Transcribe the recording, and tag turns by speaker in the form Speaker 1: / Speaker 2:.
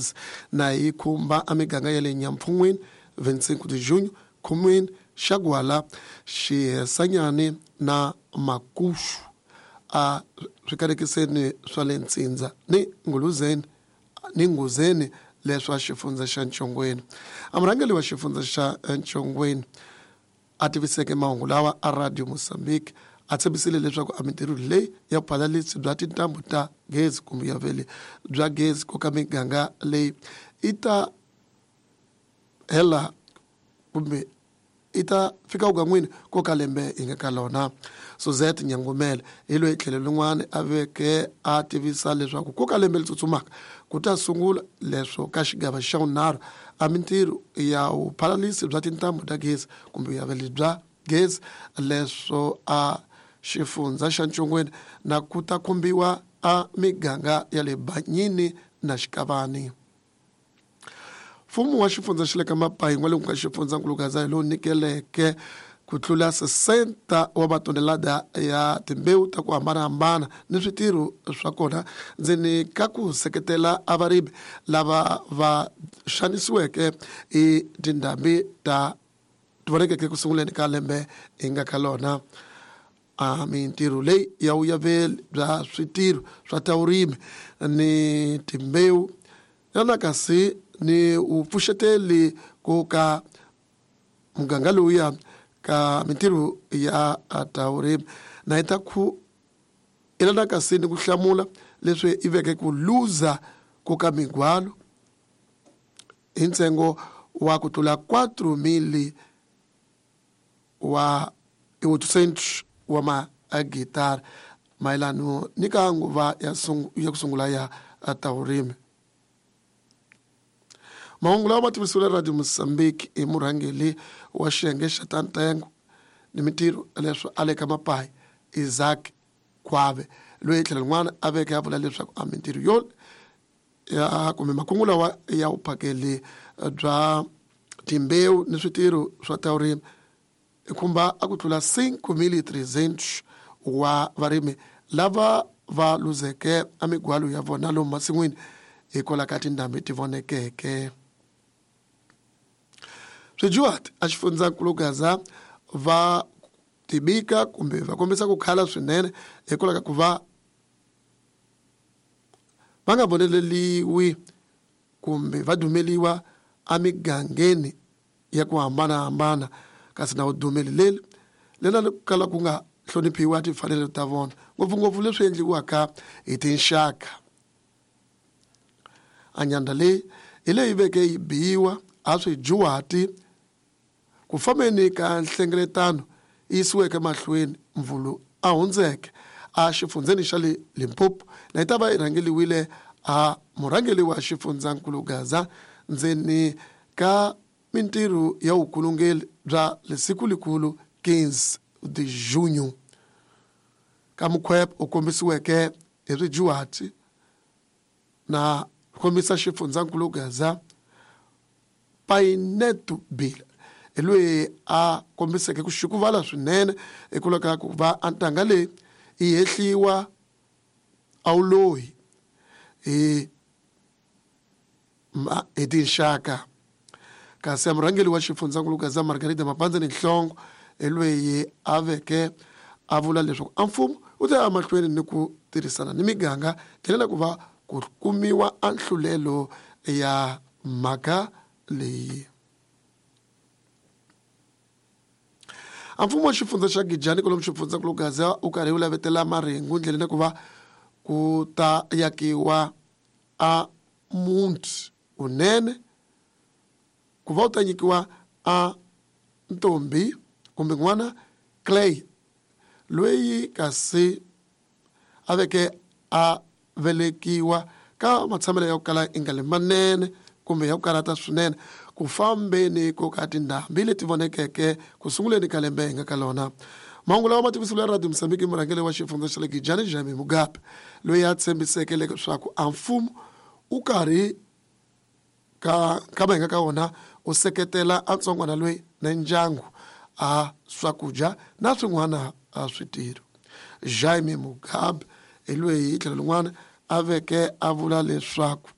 Speaker 1: gezi na yi khumba a miganga ya le Nyampfun'wini, 25 de Junho, Khumwini, Xagwala, Xihesanyani na Makuxu a swikanekiseni swa le Ntsindza ni Nguluzeni ni Nghuzeni leswa xifundza xa Ntshongweni. A murhangeri wa xifundza xa Ntshongweni a tiviseke mahungu lawa a Radio Mozambique a tshembisile leswaku a mintirho leyi ya vuphalalisi bya tintambu ta gezi kumbe ya vele bya gezi koka miganga leyi yi ta hela kumbe yi ta fika vukan'wini ko ka lembe hi nga ka lona. Suzette Nyangumele hi loyi tlhelo lin'wana a veke a tivisa leswaku ko ka lembe li tsutsumaka ku ta sungula leswo ka xigava xa vunharhu a mintirho ya vuphalalisi bya tintambu ta gezi kumbe ya vele bya gezi leswo a xifundza xa Ntshongweni na ku ta khumbiwa a miganga ya le Banyini na Xikavani. Mfumo wa xifundza xa le ka Mapayi n'walungu ka xifundzankulu Gaza hi lowu nyikeleke ku tlula 60 wa matonelada ya timbewu ta ku hambanahambana ni switirho swa kona ndzeni ka ku seketela a varimi lava va xanisiweke hi tindhambi ta ti vonekeke ku sunguleni ka lembe hi nga ka lona. A mintirho leyi ya vuyaveli bya switirho swa ta vurimi ni timbewu na kasi ni vupfuxeteli ku ka muganga lowuya ka mintirho ya ta vurimi na yi ta ku elana kasi ni ku hlamula leswi yi veke ku luza ku ka migwalo hi ntsengo wa ku tlula 4 000 wa 800 wa magitara mayelano ni ka nguva ya ya ku sungula ya ta vurimi. Mahungu lawa ma tivisiwile Radio Mozambique hi murhangeri wa xiyenge xa ta ntengo ni mintirho leswo a le ka Mapayi, Isaac Khwabe, loyi tlhelo rin'wana a veke a vula leswaku a mintirho yo ya kumbe makungu lawa ya vuphakeli bya timbewu ni switirho swa ta vurimi i khumba a ku tlula 5300 wa varimi lava va luzeke a migwalo ya vona lomu masin'wini hikwalaho ka tindhambi ti vonekeke. Swijuhati a xifundzankulu Gaza va tibika kumbe va kombisa ku khala swinene hikwalaho ka ku va va nga voneleliwi kumbe va dumeliwa emigangeni ya ku hambanahambana, kasi na vudumeli leri lena ri kala ku nga hloniphiwa timfanelo ta vona, ngopfungopfu leswi endliwaka hi tinxaka. A nyandha leyi hi leyi veke yi biwa a swijuhati ku fambeni ka nhlengeletano yi yisiweke mahlweni mvulu a hundzeke a xifundzeni xa le Limpopo na yi ta va yi rhangeliwile a murhangeli wa xifundzankulu Gaza ndzeni ka mintirho ya vukulungeli bya lesiku likulu 15 de junho. Ka mukhwep u kombisiweke hi swijuhati na kombisa xifundzankulu Gaza Painetu Bila hi loyi a kombiseke ku xukuvala swinene hikwalaho ka ku va a ntanga leyi yi hehliwa a wu loyi hi hi tinxaka. Kasi a murhangeri wa xifundzankulu Gaza Margarida Mapandzani Nhlongo hi loyi a veke a vula leswaku a mfumo wu ta ya mahlweni ni ku tirhisana ni miganga ndlela ku va ku kumiwa a nhlulelo ya mhaka leyi. A mfumo wa xifundza xa Gijani kwalomu xifundzankulu Gaza wu karhi wu lavetela marhengu ndleleni ku va ku ta yakiwa a muti wunene ku va wu ta nyikiwa a ntombi kumbe n'wana Clay loyi kasi a veke a velekiwa ka matshamelo ya ku kala i nga le manene kumbe ya ku karhata swinene ku fambeni ko ka tindhambi leti vonekeke ku sunguleni ka lembe hi nga ka lona. Mahungu lawa ma tivisiwile Radio Mozambique murhangeri wa xifundza xa le Gijani Jaime Mugabe loyi a tshembiseke leswaku a mfumo wu karhi ka nkama hi nga ka wona u seketela a ntsongwana loyi na ndyangu a swakudya na swin'wana a switirho. Jaime Mugabe hi loyi hi tlhelo lin'wana a veke a vula leswaku